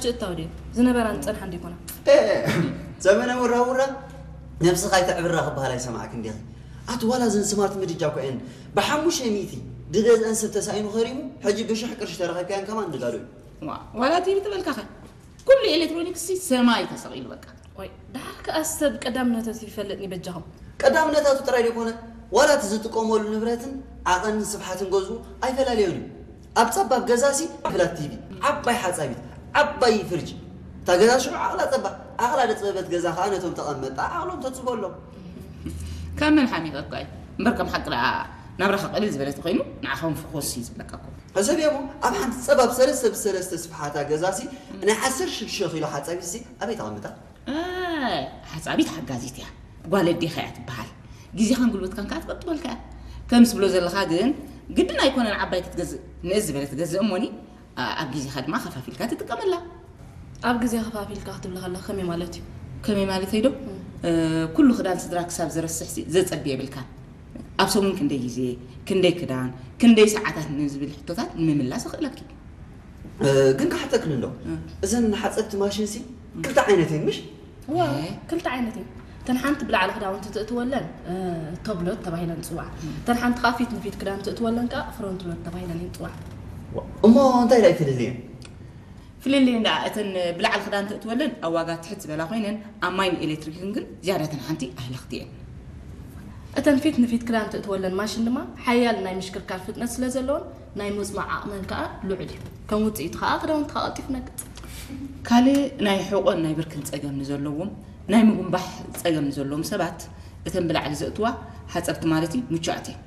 ሽእታው ድዩ ዝነበራን ዝጸንሓን ዲኮና? ዘመነ ውራውራ ነብስኻ ኣይተዕብራ ክበሃል ኣይሰማዕክ እንዲኺ። ኣቲ ዋላ እዘን ስማርት ምድጃ እኮ እየን ብሓሙሽተ ሚእቲ ድገዝአን ሰብ ተሳኢኑ ከሪሙ ሕጂ ብሽሕ ቅርሺ ተረኸብካየን ከማን ንጋዶ እዩ። ዋላ ቲቪ ትበልካኸ ኩሉ ኤሌክትሮኒክስ ሰማይ ተሰቒሉ በቃ። ወይ ደሓር ከኣ ሰብ ቀዳምነተቱ ይፈልጥኒ በጃኹም። ቀዳምነታቱ ጥራይ ደይኮነ ዋላ እቲ ዝጥቀመሉ ንብረትን ዓቐንን ስፍሓትን ገዝኡ ኣይፈላለዮን እዩ። ኣብ ጸባብ ገዛሲ ፍላት ቲቪ፣ ዓባይ ሓጻቢት፣ ዓባይ ፍርጅ። እታ ገዛ ሽዑ ዓቕላ ጸባ፣ ዓቕላ ደጽበበት ገዛ ከኣ ነቶም ተቐመጣ ዓቕሎም ተጽበሎም። ካብ መን ሓሚቐ እኳ እዩ እምበር ከም ሓቂ ደኣ ናብራኻ ቅልል ዝበለት ኮይኑ ንዓኻ እውን ፍኾስ እዩ ዝብለካ እኮ። ሕሰብዮ እሞ ኣብ ሓንቲ ጸባብ ሰለስተ ብሰለስተ ስፍሓታ ገዛሲ ናይ ዓሰርተ ሽዱሽተ ኪሎ ሓጻቢትሲ ኣበይ ተቐምጣ? ሓፃቢት ሓጋዚት እያ። ጓል ኣዴኻ እያ ትበሃል። ግዜኻን ጉልበትካን ከዓ ትቐጥበልካ እያ። ከም ትብሎ ዘለኻ ግን ግድን ኣይኮነን ዓባይ ክትገዝእ፣ ንእስ ዝበለ ትገዝእ እሞኒ ኣብ ግዜኻ ድማ ከፋፊልካ ትጥቀመላ። ኣብ ግዜ ከፋፊልካ ክትብል ከለኻ ከመይ ማለት እዩ? ከመይ ማለተይ ዶ? ኩሉ ክዳን ስድራ ክሳብ ዝረስሕ ዘፀቢ የብልካን። ኣብ ሰሙን ክንደይ ግዜ፣ ክንደይ ክዳን፣ ክንደይ ሰዓታት ንዝብል ሕቶታት ንምምላስ ይኽእለኪ። ግን ክሓተክን እንዶ እዘን ሓፀብቲ ማሽን ሲ ክልተ ዓይነት እየን ምሽ? እዋ ክልተ ዓይነት እየን። እተን ሓንቲ ብላዕሊ ክዳውንቲ ትእትወለን ቶፕ ሎድ ተባሂለን ይፅዋዓ። እተን ሓንቲ ከዓ ፊት ንፊት ክዳን ትእትወለን ከዓ ፍሮንት ሎድ ተባሂለን እየን ይፅዋዓ። እሞ እንታይ ዳይ ፍልልየን? ፍልልየን ደኣ እተን ብላዕሊ ክዳን ትእትወለን ኣብ ዋጋ ትሕት ዝበላ ኮይነን ኣብ ማይን ኤሌክትሪክን ግን ዝያዳ እተን ሓንቲ ኣህለኽቲ እየን። እተን ፊት ንፊት ክዳን ትእትወለን ማሽን ድማ ሓያል ናይ ምሽክርካር ፍጥነት ስለ ዘለወን ናይ ምጽማዕ ዓቕመን ከኣ ልዑል እዩ። ከም ውጽኢቱ ከኣ ክዳውንትኻ ቀልጢፉ ነግጽ። ካልእ ናይ ሕቖን ናይ ብርክን ጸገም ንዘለዎም፣ ናይ ምጉንባሕ ጸገም ንዘለዎም ሰባት እተን ብላዕሊ ዘእትዋ ሓጸብቲ ማለት እዩ ምቹኣት እየን።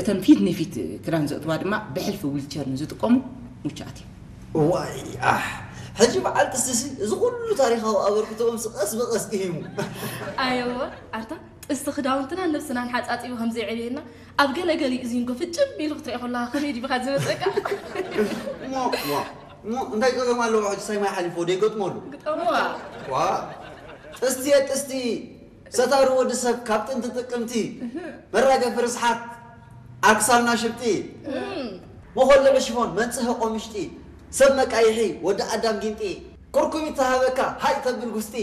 እተን ፊት ንፊት ክዳን ዘእትዋ ድማ ብሕልፊ ዊልቸር ንዝጥቀሙ ምቹኣት እየን። ዋይ ኣሕ ሕጂ በዓል ጥስሲ እዚ ኩሉ ታሪኻዊ ኣበርክቶኦም ቀስ ብቐስ ኢሂሙ። ኣየወ ኣንታ ጥስቲ ክዳውንትናን ነብስናን ሓጻጺቡ ከም ዘየዕብየና ኣብ ገለ ገሊኡ ዚንጎ ፍጭም ኢሉ ክትሪኦ ከለኻ ከመይ ዲብኻ ዝመጸካ? እሞ እሞ እሞ እንታይ ጸገም ኣለዎ ሕጂ ሳይ ማይ ሓሊፎ ደይገጥመሉ? ግጠሞ። ዋ ጥስቲ እየ ጥስቲ ሰታሪ ወዲ ሰብ ካብ ጥንቲ ጥቅምቲ መራገፊ ርስሓት ኣክሳልና ሽብጢ መኾልዒ ሽፎን መንጽሂ ቆምሽጢ ሰብ መቃይሒ ወዲ ኣዳም ጊንጢ ኩርኩሚት ተሃበካ ሃይ ተብል ጉስጢ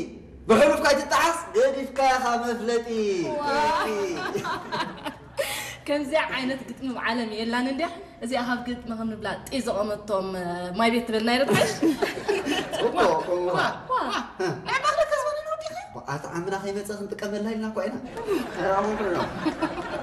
ብሕሉፍካ ኣይትጠዓስ ገዲፍካ ኢኻ መፍለጢ። ከምዚኣ ዓይነት ግጥሚ ኣብ ዓለም የላን እንድያ። እዚኣ ካብ ግጥሚ ከም ንብላ ጢ ዘቐመቶም ማይ ቤት ትበልና ይረትሓሽ። ኣታ ዓምና ከይመፀ ክንጥቀመላ ኢልና እኳ ኢና።